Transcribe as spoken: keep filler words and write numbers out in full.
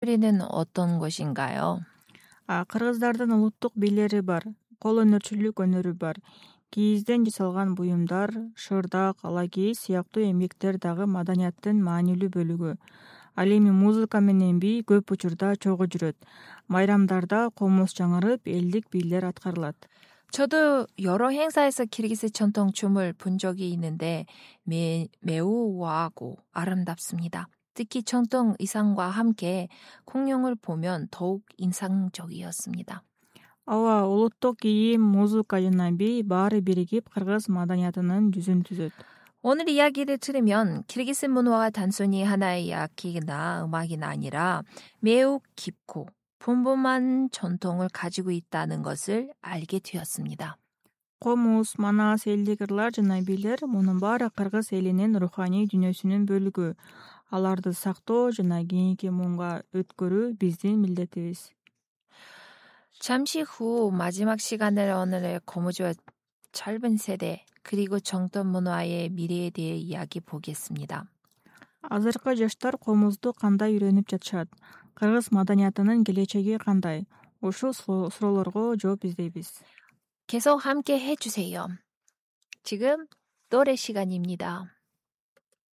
우리는 어떤 곳인가요? А, кыргыздардын улуттук бийлери бар, кол өнөрчүлүк өнөрү бар. Кийизден жасалган буюмдар, шырдак, ала кийиз сыяктуу эмгектер дагы маданияттын маанилүү бөлүгү. Ал эми музыка менен би көп учурда чогуу жүрөт. Майрамдарда комуз жаңырып, элдик бийлер аткарылат. 저도 여러 행사에서 키르기스 전통 춤을 본 적이 있는데 매, 매우 우아하고 아름답습니다. 특히 전통 의상과 함께 공룡을 보면 더욱 인상적이었습니다. Ооба, улуттук кийим, музыка жана би баары биригип кыргыз маданиятынын жүзүн түзөт. 오늘 이야기를 들으면 키르기스 문화가 단순히 하나의 이야기나 음악이 아니라 매우 깊고 풍부한 전통을 가지고 있다는 것을 알게 되었습니다. Комуз, манас, элдик ырлар жана бийлер мунун баары кыргыз элинин руханий дүйнөсүнүн бөлүгү. Аларды сактоо жана кийинки муунга өткөрүү биздин милдетибиз. 잠시 후 마지막 시간을 오늘의 고무줄 짧은 세대 그리고 정통 문화의 미래에 대해 이야기 보겠습니다. Азыркы жаштар комузду кандай үйрөнүп жатышат? Кыргыз маданиятынын келечеги кандай? Ушул суроолорго жооп издейбиз. 계속 함께 해주세요. 지금 노래 시간입니다.